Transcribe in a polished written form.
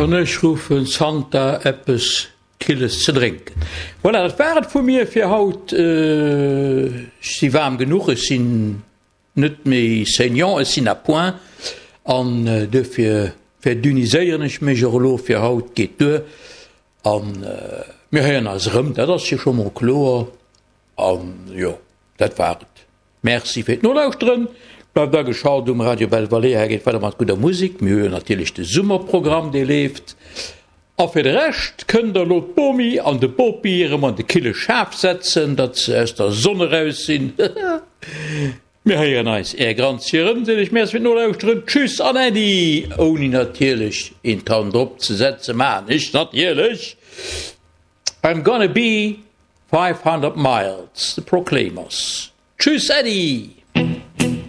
An ech ruffen Santa eppes Killes ze drénken. Voilà, dat war et vu mir fir haut. Ech si waarm genuch, ech sinn net méi saignant, ech sinn à point an duerfir verdünniséieren ech mech och elo fir haut. Geet duer an mir héieren eis erëm, dat ass jo scho mol kloer. An jo, dat war et. Merci fir d'Nolauschteren. Bleift ageschalt um Radio Belle Vallée, hei geet weider mat gudder Musek. Mir hu jo natierlech de Summerprogramm, dee leeft. A fir de Rescht kënnt der elo d'Bomi an de Bopi erëm an de kille Schaf setzen, datt se aus der Sonn eraus sinn. Mir héieren eis, Är Granzi erëm, seet iech Merci fir d'Nolauschteren. Tschüss an Äddi! Ouni natierlech een Tan drop ze setzen, maachen ech natierlech I'm gonna be 500 miles, The Proclaimers. Tschüss, Äddi!